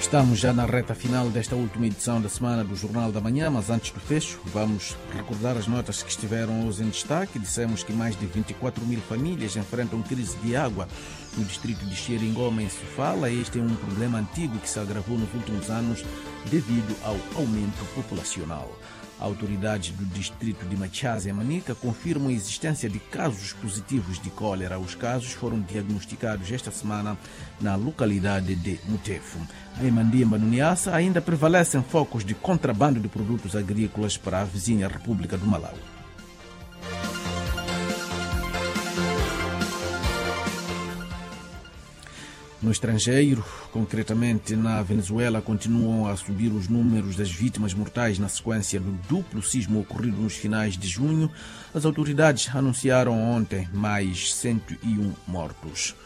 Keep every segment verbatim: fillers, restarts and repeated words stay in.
Estamos já na reta final desta última edição da semana do Jornal da Manhã, mas antes do fecho, vamos recordar as notas que estiveram hoje em destaque. Dissemos que mais de vinte e quatro mil famílias enfrentam crise de água no distrito de Xeringoma, em Sofala. Este é um problema antigo que se agravou nos últimos anos devido ao aumento populacional. Autoridades do distrito de Machaze, em Manica, confirmam a existência de casos positivos de cólera. Os casos foram diagnosticados esta semana na localidade de Mutefo. Em Mandimba, no Niassa, ainda prevalecem focos de contrabando de produtos agrícolas para a vizinha República do Malawi. No estrangeiro, concretamente na Venezuela, continuam a subir os números das vítimas mortais na sequência do duplo sismo ocorrido nos finais de junho. As autoridades anunciaram ontem mais cento e um mortos.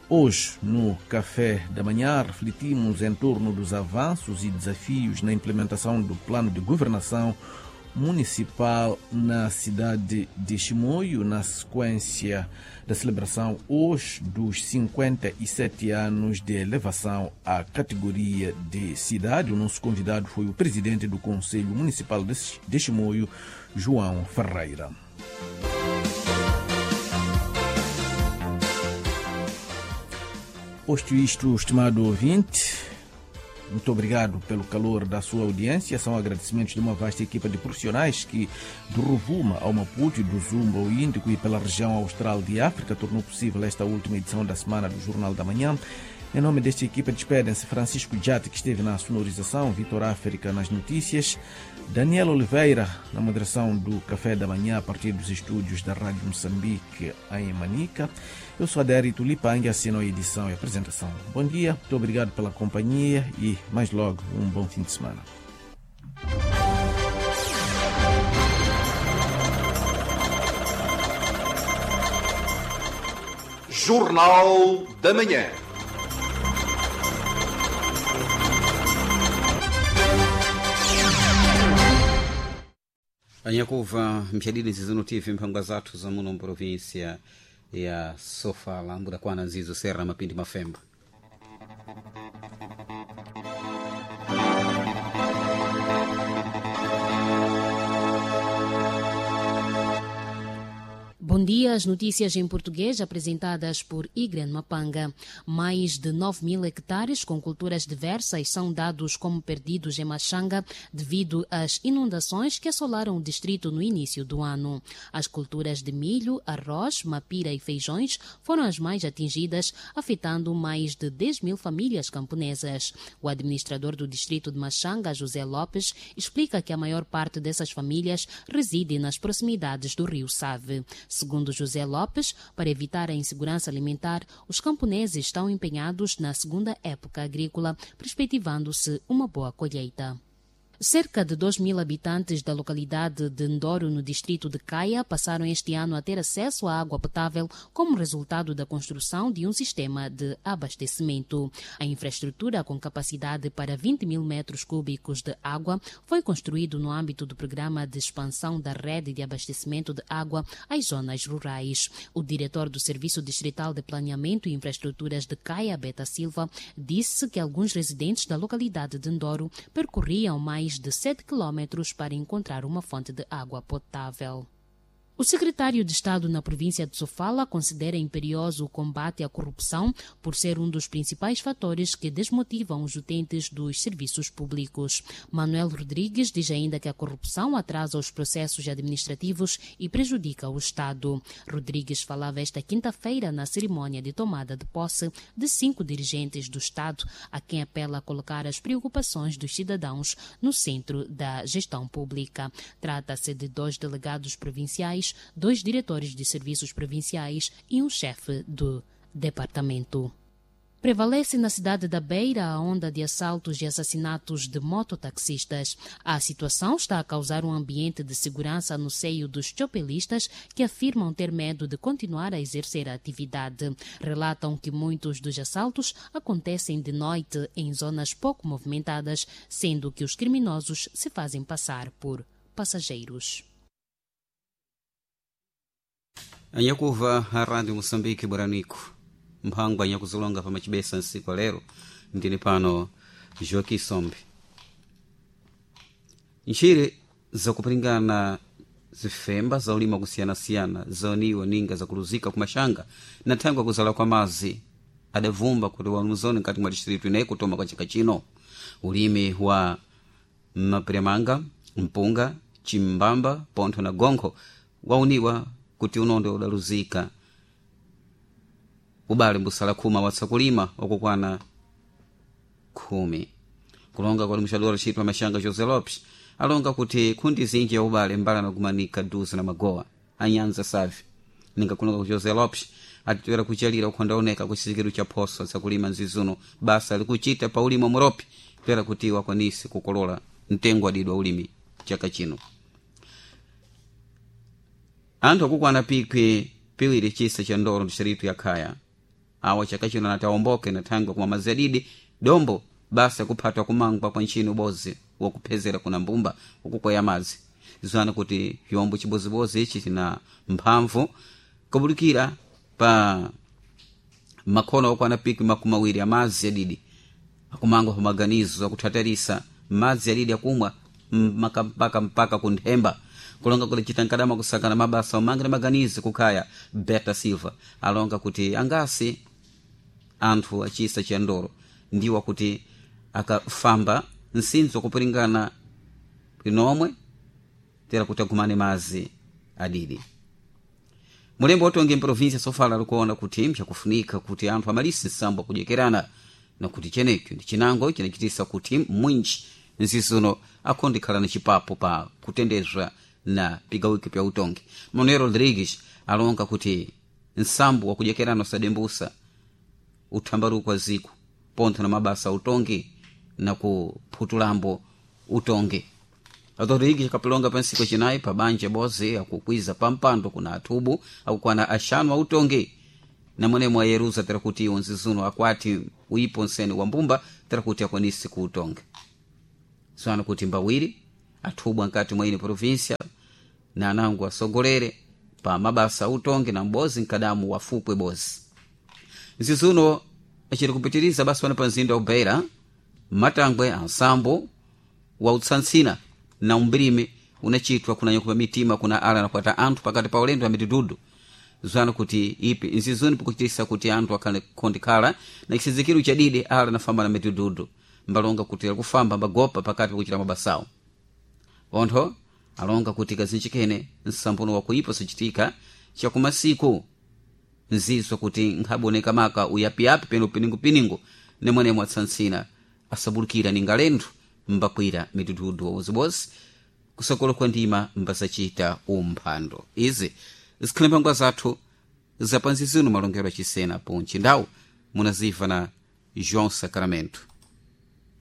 Hoje, no Café da Manhã, refletimos em torno dos avanços e desafios na implementação do plano de governação municipal na cidade de Chimoio, na sequência da celebração hoje dos cinquenta e sete anos de elevação à categoria de cidade. O nosso convidado foi o presidente do Conselho Municipal de Chimoio, João Ferreira. Posto isto, estimado ouvinte, muito obrigado pelo calor da sua audiência. São agradecimentos de uma vasta equipa de profissionais que, do Rovuma ao Maputo e do Zumba ao Índico e pela região austral de África, tornou possível esta última edição da semana do Jornal da Manhã. Em nome desta equipa despedem-se Francisco Jate, que esteve na sonorização, Vitor África nas notícias, Daniel Oliveira na moderação do Café da Manhã a partir dos estúdios da Rádio Moçambique em Manica. Eu sou Adérito Lipang, assino a edição e a apresentação. Bom dia, muito obrigado pela companhia e mais logo um bom fim de semana. Jornal da Manhã. Anyakuva mshadidi nzizono T V mphangwa zathu za muno mprovinsia ya Sofala mbudakwana nzizo serra mapindi mafemba. Bom dia, as notícias em português apresentadas por Igren Mapanga. Mais de nove mil hectares com culturas diversas são dados como perdidos em Machanga devido às inundações que assolaram o distrito no início do ano. As culturas de milho, arroz, mapira e feijões foram as mais atingidas, afetando mais de dez mil famílias camponesas. O administrador do distrito de Machanga, José Lopes, explica que a maior parte dessas famílias reside nas proximidades do rio Save. Segundo José Lopes, para evitar a insegurança alimentar, os camponeses estão empenhados na segunda época agrícola, perspectivando-se uma boa colheita. Cerca de dois mil habitantes da localidade de Ndoro, no distrito de Caia, passaram este ano a ter acesso à água potável como resultado da construção de um sistema de abastecimento. A infraestrutura, com capacidade para vinte mil metros cúbicos de água, foi construída no âmbito do programa de expansão da rede de abastecimento de água às zonas rurais. O diretor do Serviço Distrital de Planeamento e Infraestruturas de Caia, Beta Silva, disse que alguns residentes da localidade de Ndoro percorriam mais de sete quilômetros para encontrar uma fonte de água potável. O secretário de Estado na província de Sofala considera imperioso o combate à corrupção por ser um dos principais fatores que desmotivam os utentes dos serviços públicos. Manuel Rodrigues diz ainda que a corrupção atrasa os processos administrativos e prejudica o Estado. Rodrigues falava esta quinta-feira na cerimônia de tomada de posse de cinco dirigentes do Estado, a quem apela a colocar as preocupações dos cidadãos no centro da gestão pública. Trata-se de dois delegados provinciais, dois diretores de serviços provinciais e um chefe do departamento. Prevalece na cidade da Beira a onda de assaltos e assassinatos de mototaxistas. A situação está a causar um ambiente de segurança no seio dos chopelistas que afirmam ter medo de continuar a exercer a atividade. Relatam que muitos dos assaltos acontecem de noite em zonas pouco movimentadas, sendo que os criminosos se fazem passar por passageiros. Anyakuva a Rádio Moçambique Buranico mphangwa anyakuzilonga pamachibesa nsiku lero ndili pano Joaquim Sombe. Ntchire zakupiringana zifemba zaulima kusiyanasiyana zaoniwa ninga zakuluzika kumaxanga na thangwe kuzala kwa mazi adavumba kuti wanuzoni nkati mwa distritu ineyi kutoma kwa chaka chino. Ulimi wa mapiremanga, mpunga, chimbamba, pontho na gonkho wauniwa kuti unondo udaluzika ubale mbusala khuma watsakulima wakukwana khumi. Kulonga kwa limuxadora ntchito maxanga José Lopes alonga kuti khundi zinji ya ubale mbala nakumanika duze na magowa anyanza savi. Ninga kulonga ku José Lopes atitoera kuchalira ukhondaoneka ku chizikiru cha phoso zakulima nzizuno basa likuchita pa ulimi muropi toera kuti wakwanise kukolola mtengo adidwa ulimi chaka chino. Anthu akukwana pikwi piwiri chisa cha ndoro mxiritu ya khaya awa chaka chino anati awomboke na thangwe kumwa madzi adidi dombo basa kuphatwa kumangwa kwa ntchini ubozi wakuphezera kuna mbumba ukukwaya madzi. Zwana kuti chombo chibozibozi ichi china mphamvu kubulikira pa makhono okwana pikwi makumi awiri amadzi adidi akumangwa pamaganizo akuthatarisa madzi adidi akumwa mpaka mpaka mpaka kunthemba. Kulonga kuti chita nkadama kusakana mabasa omanga na maganizo kukhaya Beta Silva alonga kuti angasi anthu achisa cha ndoro ndiwa kuti akafamba nsinzo kupiringana linomwe tera kuti agumane mazi adidi. Mulembo watonge mprovinsia sofala likuona kuti mchakufunika kuti anthu amalise nsambo akudyekerana na kuti chenecho ndi chinango chinachitisa kuti mwinji nzizuno akhondikhala na chipapo pa kutendezwa na pigawiko pya utongi. Manuel Rodrigues alonga kuti nsambo wakudyekerana usadembusa uthambaruko wa ziko pontho na mabasa utongi na kuphutulambo utongi. Rodrigues akapilonga pa ntsiku chinayi pa banja bozi akukwiza pampando kuna athubu akukwana axanu autongi na mwenemo ayeruza tera kuti iwo nzizuno akwati uipo nsene wa mbumba tera kuti akwanise kuutonga. Zwana kuti mbawiri athubwa nkati mwa ine província na anango asogolere pa mabasa autongi na mbozi nkadamu wafupwe bozi. Nzizuno aciri kupitiriza basi wana pa mzinda wa Beira matangwe ansambo wa utsantsina na umbirimi unachitwa kuna nyakupa mitima kuna ala na kwata anthu pakati pa ulendo wa mitidudu. Zwana kuti ipi nzizuni pikuchitisa kuti anthu akhale khondikhala na chisizikiro chadidi ala nafamba na mitidudu mbalonga kuti akufamba mbagopa pakati pakuchita mabasawo. Ontho alonga kuti kazinjikene nsambono wakuipa sichitika chakumasiku nzizwa kuti nkhaboneka maka uyapiyapi peno piningupiningu nemwenemwe atsantsina asabulikira ningalenthu mbakwira mitududu wawozibozi kusokolo kwa ndima mbasachita umphando. Izi zikhale mphangwa zathu zapanzizino malongero achisena ponchi ndawu munaziva na João Sacramento.